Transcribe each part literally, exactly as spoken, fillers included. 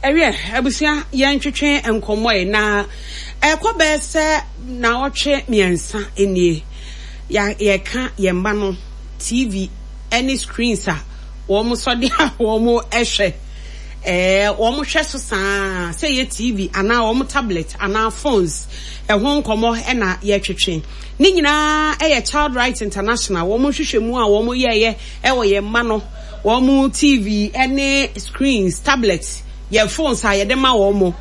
Ɛwiɛ, abusua, yɛntwetwe nkɔmmɔ yi na ɛkɔ bɛyɛ sɛ naawɔtwe mmiɛnsa nie. Yɛka yɛn mma no T V ne screens a wɔn sɔde a wɔn hwɛ. Ɛɛ wɔn hwɛ so saa sɛ yɛ T V anaa wɔn tablet anaa phones, ɛho nkɔmmɔ ɛna yɛtwetwe. Ne nyinaa ɛyɛ Child Rights International wɔn nhwehwɛmu a wɔn yɛɛyɛ ɛwɔ yɛn mma no wɔn T V ɛne screens, tablet, yɛn phones a yɛde ma wɔn mo.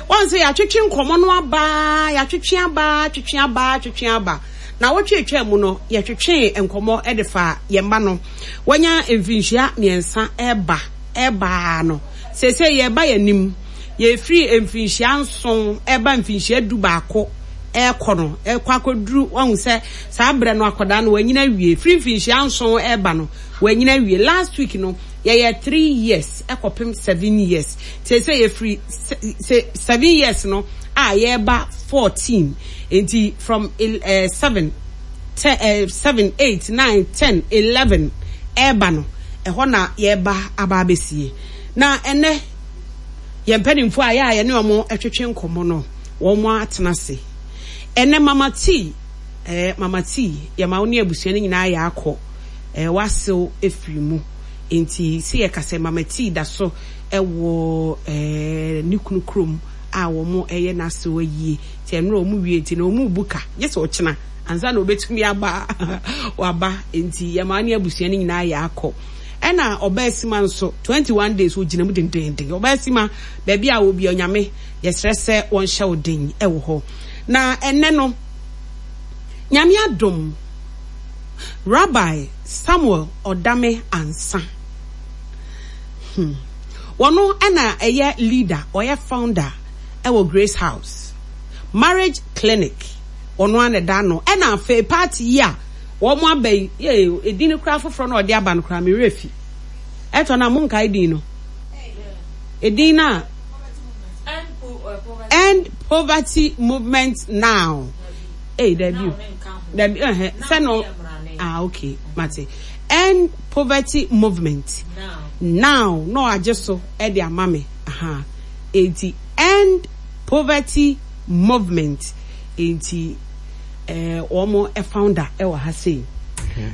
Wɔn sɛ yɛatwetwe nkɔmmɔ no aba, yɛatwetwe aba, twetwe aba, twetwe aba. Na wɔtwetwe mu no, yɛtwetwe nkɔmmɔ ɛde fa yɛn mma no wɔnya mfinhyia mmiɛnsa ɛba ɛbaa no. Sese yɛba yɛn anim, yɛfiri mfinhyia nson ɛba mfinhyia du baako ɛkɔ no, ɛkɔ akɔduru. Wɔn sɛ saa berɛ no akwadaa no wɔanyina awie. Firi mfinhyia nson ɛba no, wɔanyina awie. Last week no yɛyɛ three years ɛkɔpem seven years. Sese yɛfiri seven years no a yɛreba fourteen, nti from uh, seven, ten, uh, seven, eight, nine, ten, eleven ɛreba no, ɛhɔ na yɛreba aba abɛsie. Na ɛnɛ yɛn mpanimfoɔ a yɛ a yɛne wɔn twetwe nkɔmmɔ no, wɔn atena ase ɛnɛ. Mama T, ɛɛ Mama T, yɛma wo ne abusua no nyinaa yɛ akɔ ɛɛ wasew efiri mu. Nti si yɛ kasa, Mama T da so ɛwɔ ɛɛ ne kunu kurom a wɔn ɛyɛ n'asew ayie. Nti ɛnura wɔn wie, nti na wɔn bu ka gye sɛ ɔkyena ansa na obetumi aba waba. Nti yɛma ne abusua no nyinaa yɛ akɔ. Ɛna ɔbaa sima nso twenty one days ogyina mu dendenden. Ɔbaa sima, baabi a obi Onyame, yɛsrɛ sɛ wɔnhyɛ wo den ɛwɔ hɔ. Na ɛnɛ no, Nyame adom, Rabbi Samuel Ɔdame Ansa, hmm. wɔno ɛna ɛyɛ leader, ɔyɛ founder ɛwɔ Grace House Marriage Clinic. Ɔno ana da no. Ɛna afei party yi a wɔn aba yi, yee, edin no koraa foforɔ na ɔde aba no koraa mi werɛ fi. Ɛtɔ na mo nkae din no, edin na End Poverty Movement Now. Ee, dabi o, dabi, ɛhɛ sɛ no. Ah, okay, mate. End Poverty Movement Now na ɔagye so ɛde ama me aha. Eti End Poverty Movement, eti ɛɛ wɔn founder ɛwɔ ha sei.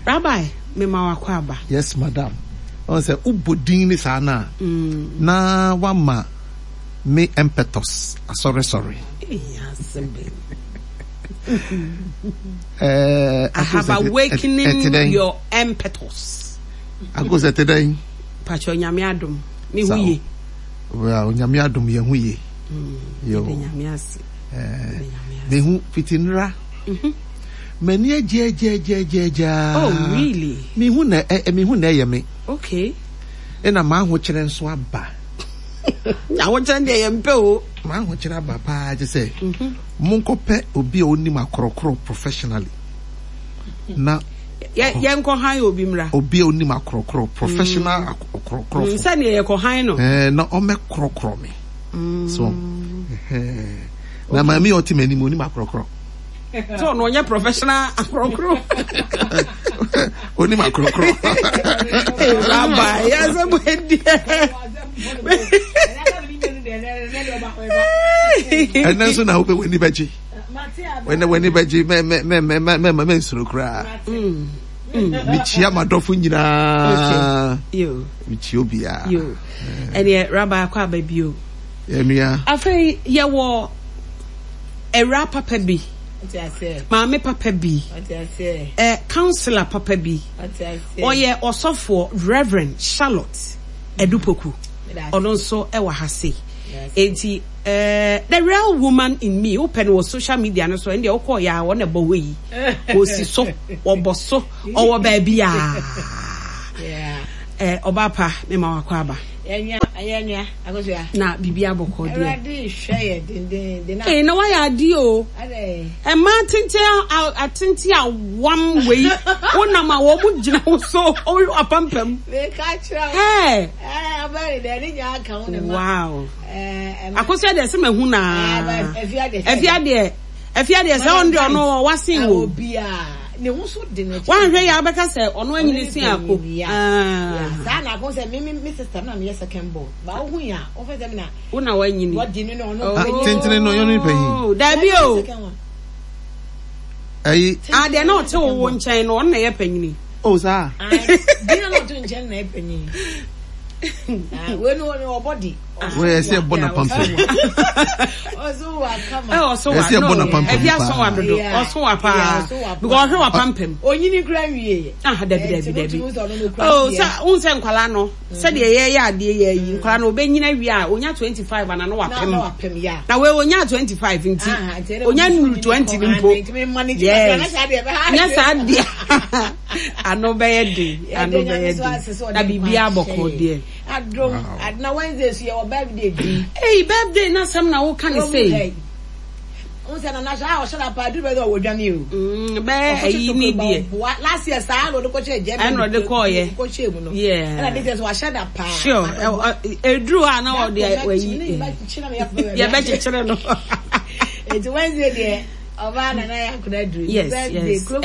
Rabbi, mema wakɔ aba. Yes, madam. Ɔn sɛ wobɔ din ne saa na na wama me impetus asɔresɔre. Ee, asɛm bɛn? Ɛɛ I have awakening your impetus. Akosɛ, te dɛn? Pakyɛ, Onyame adom, me ho ye. Well, Onyame adom, yɛn ho ye. Yo. Yɛde Nyame ase. Ɛɛ Yɛde Nyame ase. Mehu fiti nnra. M'ani agyɛgyɛgyɛgyɛgyaa. Oh, really? Mehu na ɛ mehu na ɛyɛ me. Okay. Ɛna m'ahokyerɛ nso aba. Ahokyerɛ deɛ yɛn mpɛ o. M'ahokyerɛ aba paa, gye sɛ monkɔpɛ obi a onim akorɔkorɔ professionally na Yɛ yɛnkɔ han obi mmra. Obi a onim akorɔkorɔ, professional akorɔkorɔfo. Mm, sɛdeɛ yɛkɔ han no. Ɛɛ na ɔmɛkorɔkorɔ me so ɛhɛn. Na maame a ɔte m'anim onim akorɔkorɔ. Sɛ ɔno ɔnyɛ professional akorɔkorɔ. Onim akorɔkorɔ. Hey, Rabbi, yɛsɛ mo adiɛ. Ɛnɛ nso na wobɛ w'ani bɛgye, ɛnɛ w'ani bɛgye. mɛ mɛ mɛ mɛ mɛ mɛ mɛ nsoro koraa. Mekyia m'adɔfo nyinaa. Yo. Mekyia obiara. Yo. Ɛneɛ Rabbi, akɔ aba bio. Ɛnua. Afei yɛwɔ awura papa bi, maame papa bi, ɛ counsellor papa bi, ɔyɛ ɔsɔfoɔ, Reverend Charlotte Edupoku. Ɔno nso ɛwɔ ha sei. Enti ɛɛ the real woman in me, wopɛ no wɔ social media no so, ɛndeɛ wokɔɔ yɛ a, wɔn na ɛbɔ hɔ yi, wɔsi so, wɔbɔ so, ɔwɔ baabi a ɛ ɔbaa pa. Mema wakɔ aba. Na biribi abɔkɔ deɛ? Ee, na wayɛ adeɛ o. Mmaa tenten a atenten a wam wei, wonam a wɔn mo gyina wo so apampam. Ɛɛ wow, Akosua deɛ sɛ mahu naa. Afia deɛ, afia deɛ sɛ ɔno deɛ, ɔno wasen wo. Ne ho so de n'akyi. Wanhwɛ yɛ abɛka sɛ ɔno anyini si ako. Saa na ako sɛ me me sister na meyɛ second born. Ba wo hu ya, wo fɛ sɛ me na. Wo na wanyini. Wɔdi no na ɔno. Ah, tentene no ɔno ne panyin. Dabi o. Ayi. Ah, deɛ na ɔte wo wo nkyɛn no ɔno na ɛyɛ panyini. Oh saa. Deɛ na ɔte nkyɛn na ɛyɛ panyin. Wei no ɔbɔ di. Wei ɛsɛ ɛbɔ na pampam. Ɔso wa kama. Ɛ ɔso wa Ɛsɛ ɛbɔ na no pampam ɛbi aso wa dodo ɔso wa paa because ɔhwɛ wa pampam. Onyini kura nwie yɛ. Ah dabi dabi dabi. Oh sɛ n sɛ nkwalaa no sɛdeɛ yɛyɛ adeɛ yɛ yi nkwalaa no ɔbɛnyina wie a onya twenty five ana no wapem. Na wei onya twenty five nti onya nuru twenty ni mpo. Yes. Nyɛ saa deɛ ano bɛyɛ den ano bɛyɛ den na biribi abɔkɔ deɛ. Adom na Wednesday so yɛ wɔ birthday bi. Hey birthday na sɛm na woka ne sei. N sɛ nana sɛ a ɔhyɛ na paa duru bɛ sɛ ɔwɔ dwane o. Mm, bɛyɛ ayi ni deɛ. Last year saa na ɔde kɔhyɛ Germany. Ɛna ɔde kɔɔyɛ. Kɔhyɛ mu no. Yeah. Ɛna this year so wahyɛ da paa. Sure. Eduru a na ɔde ayi. Yɛbɛkyekyere no. Eti Wednesday deɛ ɔbaa nana yɛ akora duru. Yes yes.